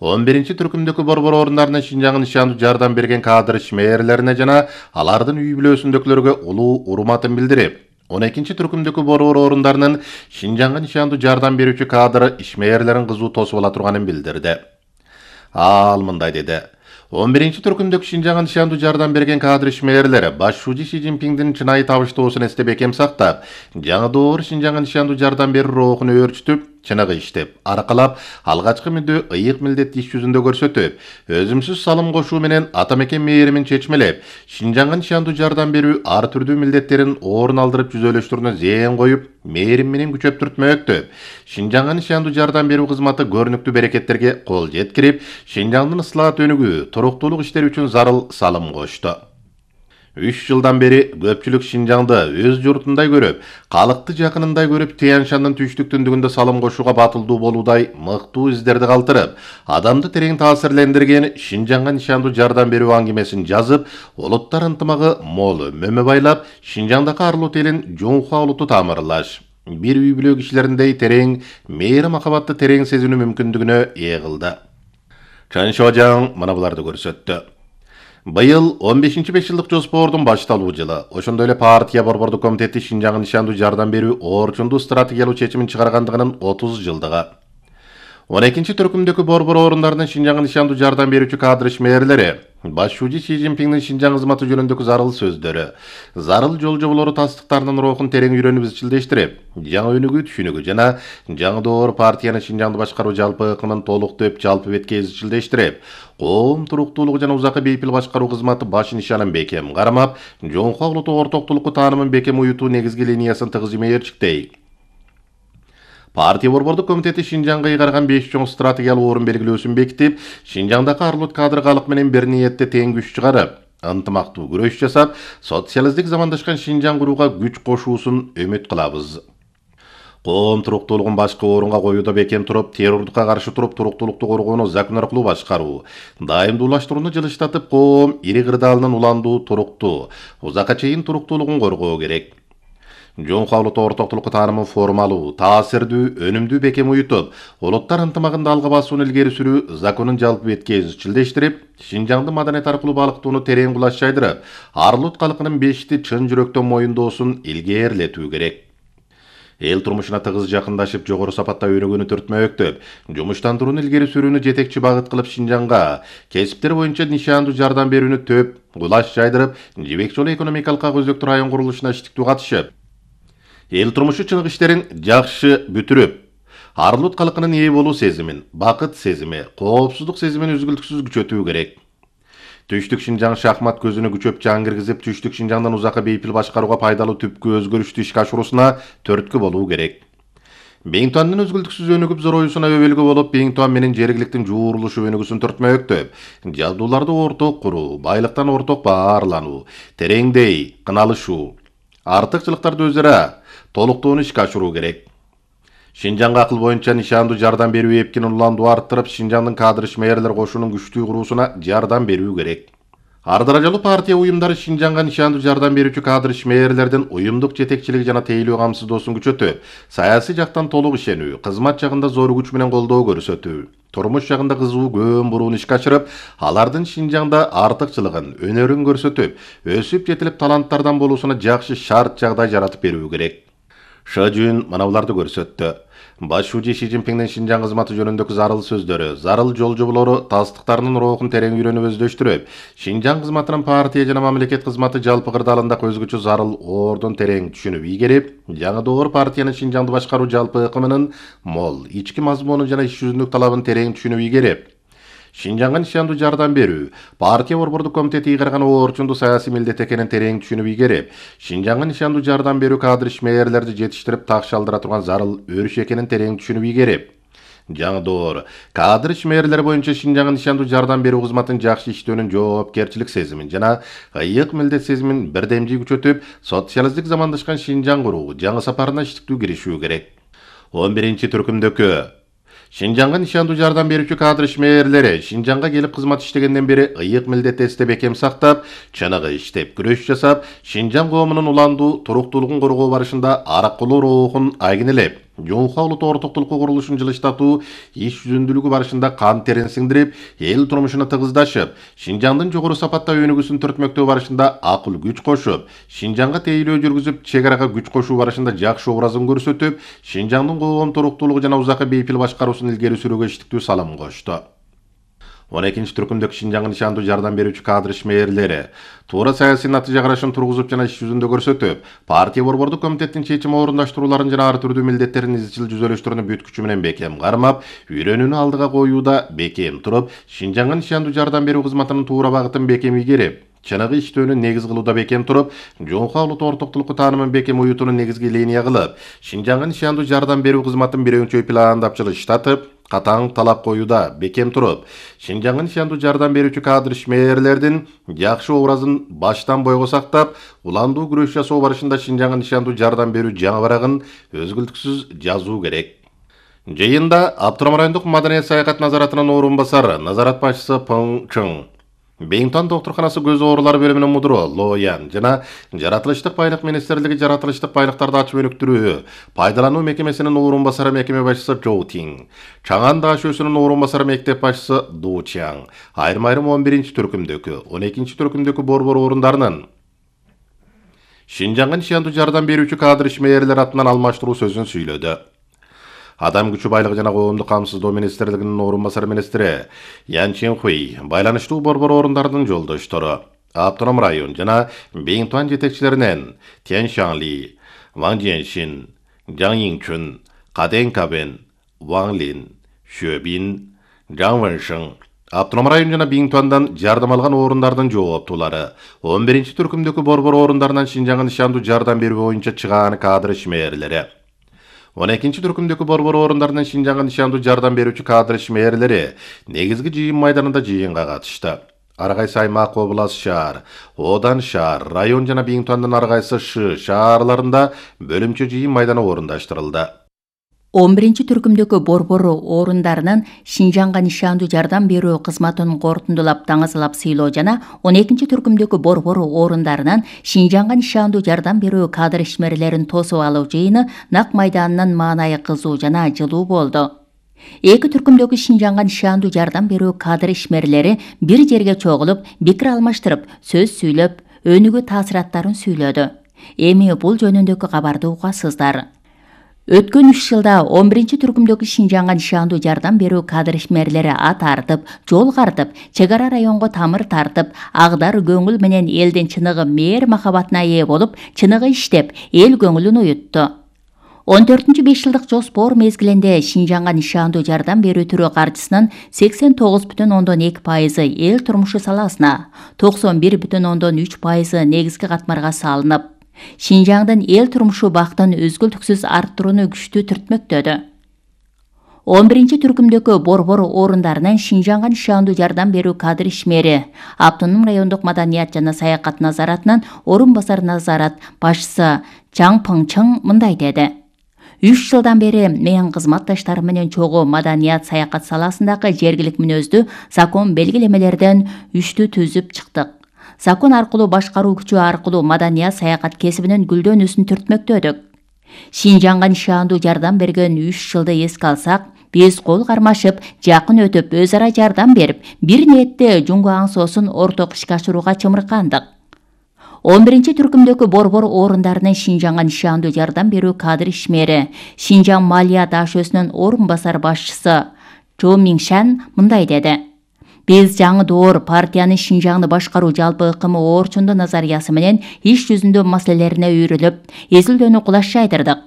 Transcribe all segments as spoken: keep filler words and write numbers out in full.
он биринчи түркүмдөгү борбор орундарына Шинжаңга нишандуу жардам берген кадр ишмерлерине жана алардын үй бүлөсүндөгүлөргө улуу урматын билдирип, он экинчи түркүмдөгү борбор орундарынын Шинжаңга нишандуу жардам берүүчү кадр ишмерлерин кызуу тосуп ала турганын билдирди. Ал мындай деди: он биринчи түркүмдөгү Шинжаңга нишандуу жардам берген кадр ишмерлери башчы Си Цзиньпиңдин чынайы табыштоосун эсте бекем сактап, жаңы доор Шинжаңга нишандуу жардам берүү рухун өөрчүтүп, чыныгы иштеп, аркалап, алгачкы мүдө ыйык милдетти иш жүзүндө көрсөтүп, өзүмсүз салым кошуу менен ата мекен мээримин чечмелеп, Шинжаңга нишандуу жардам берүү ар түрдүү милдеттерин орун алдырып жүзөлөштүрүүнө зээн коюп, мээрим менен күчөп түртмөктөп, Шинжаңга нишандуу жардам берүү кызматы көрүнүктүү берекеттерге кол жеткирип, Шинжаңдын ыслаат өнүгүү, туруктуулук иштери үчүн зарыл салым кошту. үч жылдан бери көпчүлүк Шинжаңды өз журтундай көрүп, калкты жакынындай көрүп, Тянь-Шандын түштүк түндүгүндө салым кошууга батылдуу болуудай мыктуу издерди калтырып, адамды терең таасирлендирген Шинжаңга нишандуу жардам берүү аңгемесин жазып, улуттар ынтымагы мол өмөмө байлап, Шинжаңдагы арлут элин Жунхуа улуту тамырлаш, бир үй бүлө кишилериндей терең, мээри махабатты терең сезинүү мүмкүндүгүнө ээ кылды. Чан Шожаң мына буларды көрсөттү. Быйыл он бешинчи беш жылдык жоспордун башталуу жылы. Ошондой эле партия борбордук комитети Шинжаңга нишандуу жардам берүү орчундуу стратегиялуу чечимин чыгаргандыгынын отуз жылдыгы. он экинчи түркүмдөгү борбор орундарынын Шинжаңга нишандуу жардам берүүчү кадр ишмерлери башчы Си Цзиньпиңдин Шинжаң кызматы жөнүндөгү зарыл сөздөрү, зарыл жол жоболору тастыктарынын рухун терең үйрөнүп изчилдештирип, жаңы өнүгүү түшүнүгү жана жаңы доор партиянын Шинжаңды башкаруу жалпы ыкмын толуктоп, жалпы бетке изчилдештирип, коом туруктуулугу жана узакы бейпил башкаруу кызматы баш нишанын бекем кармап, Жонхуа улуту ортоктулукку таанымын бекем уютуу негизги линиясын тыгыз имээрчиктей. Партия борбордук комитети Шинжаңга ыйгарган беш чоң стратегиялык орун белгилөөсүн бекитип, Шинжаңдагы арлут кадр калык менен бир ниетте тең күч чыгарып, ынтымактуу күрөш жасап, социалисттик замандашкан Шинжаң курууга күч кошуусун үмүт кылабыз. Коом туруктуулугун башкы орунга коюуда бекем туруп, террордукка каршы туруп, туруктуулукту коргоону закон аркылуу башкаруу, дайымдуулаштырууну жылыштатып, коом ири кырдаалынын уландуу, туруктуу, узакка чейин туруктуулугун коргоо керек. Жонхуа улуту ортоктулукку таанымын формалуу, таасирдүү, өнүмдүү бекем уютуп, улуттар ынтымагында алга басууну илгери сүрүү законун жалпы бетке изчилдештирип, Шинжаңды маданият аркылуу балыктоону терең кулаш жайдырып, арлут калкынын бешти чын жүрөктөн моюндоосун илгээрлетүү керек. Эл турмушуна тыгыз жакындашып, жогору сапатта өнүгүүнү түртмөктөп, жумуштандырууну илгери сүрүүнү жетекчи багыт кылып, Шинжаңга кесиптер боюнча нишандуу жардам берүүнү төп кулаш жайдырып, жибек жолу экономикалык өзөктүү район курулушуна иштиктүү катышып, эл турмушу чыныгы иштерин жакшы бүтүрүп, арлут калкынын ээ болуу сезимин, бакыт сезими, коопсуздук сезимин үзгүлтүксүз күчөтүү керек. Түштүк Шинжаң шахмат көзүнө күчөп жан киргизип, Түштүк Шинжаңдан узакы бейпил башкарууга пайдалуу түпкү өзгөрүштү ишке ашыруусуна түрткү болуу керек. Бейинтуандын өзгүлтүксүз өнүгүп зороюусуна өбөлгө болуп, Бейинтуан менен жергиликтин жуурулушу өнүгүүсүн түртмөктөп, жабдууларды орток куруу, байлыктан орток баарлануу, тереңдей кыналышуу, артыкчылыктарды өзара толуктоону ишке ашыруу керек. Шинжаңга акыл боюнча нишандуу жардам берүү эпкинин уландуу арттырып, Шинжаңдын кадр ишмерлер кошунун күчтүү куруусуна жардам берүү керек. Ар даражалуу партия уюмдары Шинжаңга нишандуу жардам берүүчү кадр ишмерлердин уюмдук жетекчилиги жана тейлөө камсыздоосун күчөтүп, саясий жактан толук ишенүү, кызмат жагында зор күч менен колдоо көрсөтүү, турмуш жагында кызуу көөн бурууну ишке ашырып, алардын Шинжаңда артыкчылыгын, өнөрүн көрсөтүп, өсүп жетилип таланттардан болуусуна жакшы шарт жагдай жаратып берүү керек. Шожун мына буларды көрсөттү. Башчы Си Цзиньпиңдин Шинжаң кызматы жөнүндөгү зарыл сөздөрү, зарыл жол жоболору тастыктарынын рухун терең үйрөнүп өздөштүрүп, Шинжаң кызматынын партия жана мамлекет кызматы жалпы кырдаалында өзгөчө зарыл ордун терең түшүнүп ийгерип, жаңы доор партиянын Шинжаңды башкаруу жалпы ыкмынын мол, ички мазмунун жана иш жүзүндүк талабын терең түшүнүп ийгерип, Шинжаңга нишандуу жардам берүү, партия борбордук комитети ыйгарган орчундуу саясий милдет экенин терең түшүнүп ийгерип, Шинжаңга нишандуу жардам берүү кадр ишмерлерди жетиштирип так шалдыра турган зарыл өрүш экенин терең түшүнүп ийгерип, жаңы доор кадр ишмерлери боюнча Шинжаңга нишандуу жардам берүү кызматын жакшы иштөөнүн жоопкерчилик сезимин жана ыйык милдет сезимин бирдемжий күчөтүп, социалисттик замандашкан Шинжаң куруу жаңы сапарына иштиктүү киришүү керек. он биринчи түркүмдөгү Шинжаңга нишандуу жардам берүүчү кадр ишмерлери Шинжаңга келип кызмат иштегенден бери ыйык милдет эсте бекем сактап, чыныгы иштеп, күрөш жасап, Шинжаң коомунун уландуу, туруктуулугун коргоо барышында аракылуу рухун айгинелеп, Жоңха улуттук ортоктулукка курулушун жылыштатуу иш жүзүндүүлүгү барышында кан терин сиңдирип, эл турмушуна тыгыздашып, Шинжаңдын жогору сапатта өнүгүүсүн төртмөктөө барышында акыл күч кошуп, Шинжаңга тейлөө жүргүзүп, чек арага күч кошуу барышында жакшы образын көрсөтүп, Шинжаңдын коом туруктуулугу жана узакы бейпил башкаруусун илгери сүрүүгө иштиктүү салым кошту. он экинчи түркүмдөгү Шинжаңга нишандуу жардам берүүчү кадр ишмээрлери туура саясий натыйжа карашын тургузуп жана иш жүзүндө көрсөтүп, партия борбордук комитеттин чечим орундаштырууларын жана ар түрдүү милдеттерин изчил жүзөлөштөрүнү бүт күчү менен бекем кармап, үйрөнүүнү алдыга коюуда бекем туруп, Шинжаңга нишандуу жардам берүү кызматынын туура багытын бекем ийгерип, чыныгы иштөөнү негиз кылууда бекем туруп, Жоңха улуттук ортоктулукку таанымын бекем уютууну негизги линия кылып, Шинжаңга нишандуу жардам берүү кызматын бир өңчөй пландап жылыштатып, катаң талап коюуда бекем туруп, Шинжаңга нишандуу жардам берүүчү кадр ишмээрлердин жакшы образын баштан бойго сактап, уландуу күрөш жасоо барышында Шинжаңга нишандуу жардам берүү жаңы барагын өзгүлтүксүз жазуу керек. Жыйында Аптырам райондук маданият саякат назаратынын орун басары, назарат башчысы Пың Чың, Бейинтон доктурканасы көз оорулары бөлүмүнүн мудуру Лоян жана Жаратылыштык байлык министрлиги жаратылыштык байлыктарды ачып өнүктүрүү, пайдалануу мекемесинин орун басары мекеме башчысы Жоу Тиң, Чаңан даашөсүнүн орун басары мектеп башчысы Ду Чаң, айрым-айрым он биринчи түркүмдөгү, он экинчи түркүмдөгү борбор орундарынын Шинжаңга нишандуу жардам берүүчү кадр ишмээрлер атынан алмаштыруу сөзүн сүйлөдү. Адам күчү байлыгы жана коомдук камсыздоо министрлигинин орун басары министри Ян Ченхуй байланыштуу борбор орундарынын жолдоштору, Аптырам район жана Бейинтуан жетекчилеринен Тянь Шаңли, Ваң Жиэншин, Жаң Йиңчүн, Каден Кабен, Ваң Лин, Шөбин, Жаң Вэншин, Аптырам район жана Бейинтуандан жардам алган орундардын жооптуулары, он биринчи түркүмдөгү борбор орундарынан Шинжаңга нишандуу жардам берүү боюнча чыгаан кадр ишмээрлери, он экинчи түркүмдөгү борбор орундарынын Шинжаңга нишандуу жардам берүүчү кадр ишмээрлери негизги жыйын майданында жыйынга катышты. Ар кайсы аймак, область, шаар, Одан шаар, район жана Бейинтуандын ар кайсы шы шаарларында бөлүмчө жыйын майданы орундаштырылды. он биринчи түркүмдөгү борбор орундарынын Шинжаңга нишандуу жардам берүү кызматын корутундулап таңазалап сыйлоо жана он экинчи түркүмдөгү борбор орундарынын Шинжаңга нишандуу жардам берүү кадр ишмерлерин тосуп алуу жыйыны Нак майданынын маанайы кызуу жана жылуу болду. Эки түркүмдөгү Шинжаңга нишандуу жардам берүү кадр ишмерлери бир жерге чогулуп, пикир алмаштырып, сөз сүйлөп, өнүгүү таасираттарын сүйлөдү. Эми бул жөнүндөгү кабарды угасыздар. Өткөн үч жылда он биринчи түркүмдөгү Шинжаңга нишандуу жардам берүү кадр ишмерлери ат артып, жол картып, чек ара районго тамыр тартып, агдар көңүл менен элдин чыныгы мээр махабатына ээ болуп, чыныгы иштеп, эл көңүлүн уютту. он төртүнчү беш жылдык жоспор мезгилинде Шинжаңга нишандуу жардам берүү түрү каржысынын сексен тогуз бүтүн ондон эки пайызы эл турмушу саласына, токсон бир бүтүн ондон үч пайызы негизги катмарга салынып, Шинжаңдын эл турмушу бактын өзгүлтүксүз арттырууну күчтүү түртмөктөдү. он биринчи түркүмдөгү борбор орундарынын Шинжаңга нишандуу жардам берүү кадр ишмери Автоном райондук маданият жана саякат назаратынын орун басар назарат башчысы Чаң Пың Чың мындай деди. үч жылдан бери мен кызматташтарым менен чогуу маданият саякат саласындагы жергилик мүнөздүү закон белгилемелерден үчтү түзүп чыктык. Закон аркылуу башкаруу күчү аркылуу маданият саякат кесибинин гүлдөнүүсүн түртмөктөдүк. Шинжаңга нишандуу жардам берген үч жылды эске алсак, биз кол кармашып, жакын өтүп, өз ара жардам берип, бир ниетте жуңгу аң соосун орток ишке ашырууга чымыркандык. он биринчи түркүмдөгү борбор орундарынын Шинжаңга нишандуу жардам берүү кадр ишмери Шинжаң малия даашөсүнүн орун басар башчысы Чо Миншан мындай деди. Биз жаңы доор партиянын Шинжаңды башкаруу жалпы ыкымы орчундуу назариясы менен иш жүзүндө маселелерине үйрүлүп, изилдөөнү кулашчайдырдык.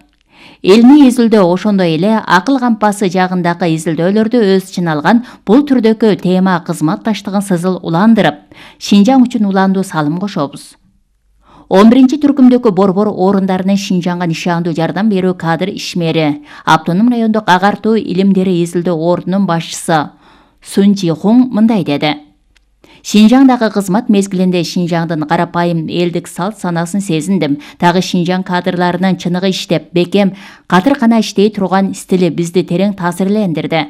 Элми изилдөө ошондой эле акыл кампасы жагындагы изилдөөлөрдү өз ичине алган бул түрдөгү тема кызматташтыгын сызыл уландырып, Шинжаң үчүн уландуу салым кошобуз. он биринчи түркүмдөгү борбор орундарынын Шинжаңга нишандуу жардам берүү кадр ишмери Автоном райондук агартуу илимдери изилдөө ордунун башчысы Сун Жи Хуң мындай деди. Шинжаңдагы кызмат мезгилинде Шинжаңдын карапайым элдик салт санасын сезиндим. Дагы Шинжаң кадрларынын чыныгы иштеп, бекем, катыркана иштей турган стили бизди терең таасирлендирди.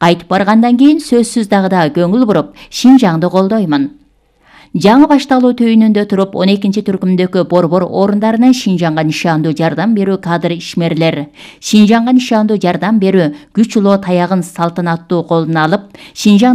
Кайтып баргандан кийин сөзсүз дагы да көңүл буруп, Шинжаңды колдоймун. Жаңы башталуу түйүнүндө туруп он экинчи түркүмдөгү борбор орундарынан Шинжаңга нишандуу жардам берүү кадр ишмерлер Шинжаңга нишандуу жардам берүү күч улоо таягын салтанаттуу колуна алып, Шинжаң